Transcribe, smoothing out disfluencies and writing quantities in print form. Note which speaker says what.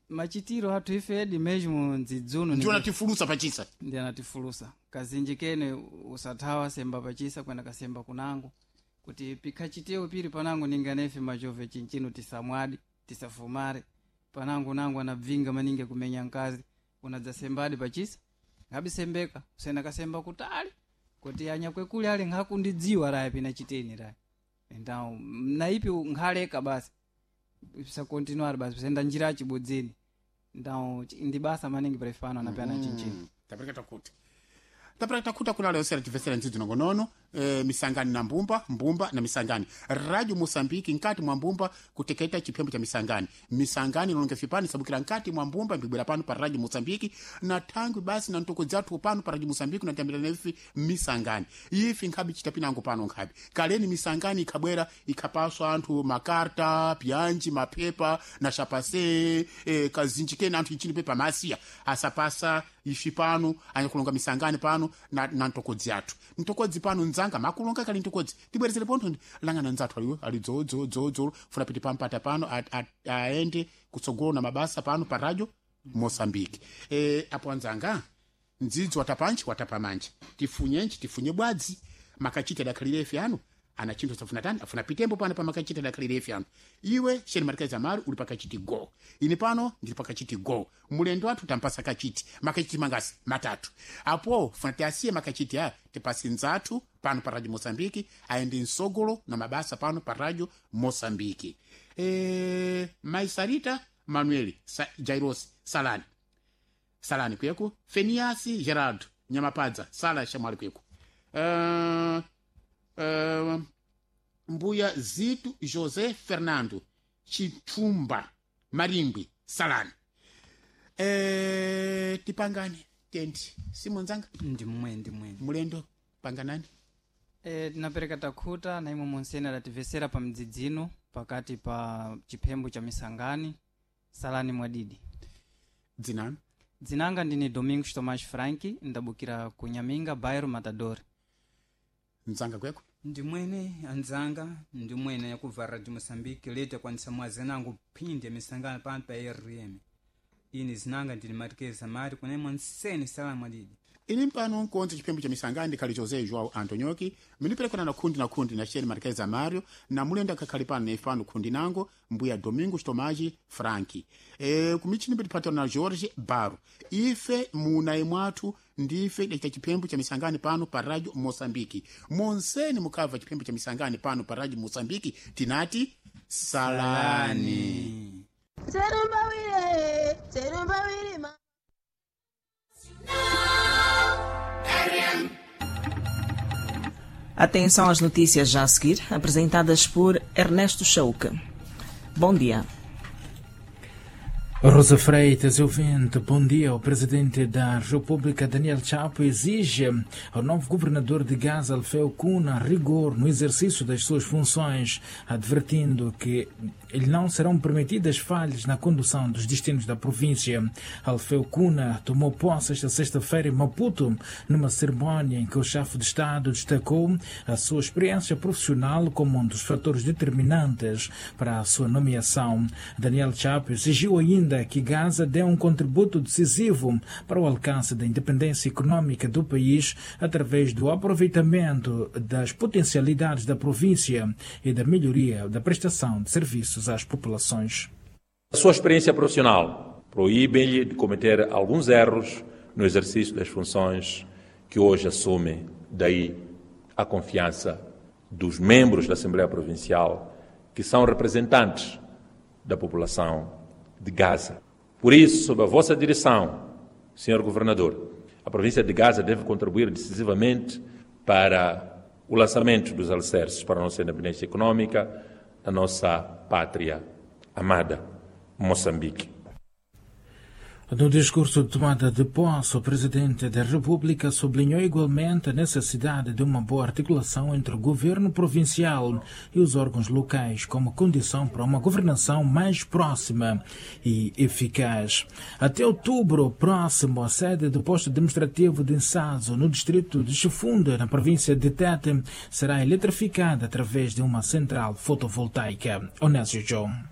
Speaker 1: Machitiro athu ifedi mesmo ndzidzuno.
Speaker 2: Ndiwo anatifulusa pachisa.
Speaker 1: Ndi anatifulusa kazinji kene usathawa semba pachisa kwena kasemba kunango kuti pikhachitewo piri panango ninganefe machove chinchino tisamwadi tisafumare panango nango anabvinga maningi kumenya nkazi unadzasembadi pachisa ngabisembeka usena kasemba kutali kuti anyakwekuli ali nkhakundidziwa raya pina chiteni raya então naipi nkhaleka basi sakontinuar basi kusenda njira achibodzeni. Então ndi basa maningi prefano anapena chinchino.
Speaker 2: Tapereka takuti tapera takuta kuna leo sera tivesera ndzidzi nongonono misangani na mbumba mbumba na misangani radio Mosambiki nkati mwa mbumba kuteketa chiphembo cha misangani misangani ilonge fipani sabukira nkati mwa mbumba mbibwera pano pa radio Mosambiki na thangwi basi na ntoko dzathu pano pa radio Mosambiki natambira nefi misangani ifi nkhabi chitapinango pano nkhabi kaleni misangani ikhabwera ikhapaswa anthu makarta pyanji mapepa na shapase kazinji kena anthu ichini pepa masiya asapasa ifi pano anyakulonga misangani pano na ntokodzi athu ntokodzi pano ndzanga makulonga kali ntokodzi tibwerezere pontho langana ndzathu aliwo ali dzodzo funa piti pampata pano aende kutsogolo na mabasa pano pa radio Mosambiki. Apo anzanga ndzidzi watapanji watapamanja tifunyenji tifunye bwadzi makachita dakhalirefi ano ana chinthu safuna tani afuna pitembo pano pa makachita dakhalirefi ano. Iwe sheni marikazi amari uli pakachiti go ine pano ndili pakachiti go mulendo wathu tampasa kachiti makachiti mangasi matatu apo funa tiasiye makachiti aya tipasi nzathu pano pa radio Mosambiki aende msogolo na mabasa pano pa radio Mosambiki. Maisarita Manuel Jairos Salani Salani kweko Feniasi Gerardo Nyamapadza Sala Shamwali kweko mbuya Zito José Fernando Chithumba Maringwi Salani. Tipangane tendi simonzanga.
Speaker 1: Ndimwe ndimwe.
Speaker 2: Mulendo panganani.
Speaker 1: Tinapereka takhuta na imwe monsene adativesera pa mdzidzino pakati pa chiphembo cha misangani salani mwadidi.
Speaker 2: Dzinano?
Speaker 1: Dzinanga ndine Domingos Tomás Frank, ndabukira ku Nyaminga bairro Matador.
Speaker 2: Mdzanga kweko.
Speaker 3: Ndimwene anzanga ndimwene yakubva radio Moçambique leta kwanisa mwazenango phindi ya misangano pano pa rm ine zinanga ndine matikeza mari kunemwe nsene salamu adidi.
Speaker 2: Ini mpano nkonze chiphembo cha misangani ndikhali José João Antonioki miniperekana na khundi na khundi na sheni marikazi amario na mulendo akakhali pano na ifano khundi nango mbuya Domingos Tomaji Franki. Kumichini pitipatana na Jorge Baro ife munayi mwathu ndife dacita chiphembo cha misangani pano pa radio Mosambiki monseni mukabva chiphembo cha misangani pano pa radio Mosambiki tinati salani,
Speaker 4: Terumbawire, terumbawire ma.
Speaker 5: Atenção às notícias já a seguir, apresentadas por Ernesto Chauque. Bom dia.
Speaker 6: Rosa Freitas, ouvinte, bom dia. O presidente da República, Daniel Chapo, exige ao novo governador de Gaza, Alfeu Cunha, rigor no exercício das suas funções, advertindo que lhe não serão permitidas falhas na condução dos destinos da província. Alfeu Cunha tomou posse esta sexta-feira em Maputo, numa cerimónia em que o chefe de Estado destacou a sua experiência profissional como um dos fatores determinantes para a sua nomeação. Daniel Chapo exigiu ainda que Gaza dê um contributo decisivo para o alcance da independência econômica do país através do aproveitamento das potencialidades da província e da melhoria da prestação de serviços às populações.
Speaker 7: A sua experiência profissional proíbe-lhe de cometer alguns erros no exercício das funções que hoje assume, daí a confiança dos membros da Assembleia Provincial, que são representantes da população de Gaza. Por isso, sob a vossa direção, Sr. Governador, a província de Gaza deve contribuir decisivamente para o lançamento dos alicerces para a nossa independência econômica da nossa pátria amada, Moçambique.
Speaker 6: No discurso de tomada de posse, o presidente da República sublinhou igualmente a necessidade de uma boa articulação entre o governo provincial e os órgãos locais como condição para uma governação mais próxima e eficaz. Até outubro próximo, a sede do posto administrativo de Insazo, no distrito de Chifunda, na província de Tete, será eletrificada através de uma central fotovoltaica. Onésio João.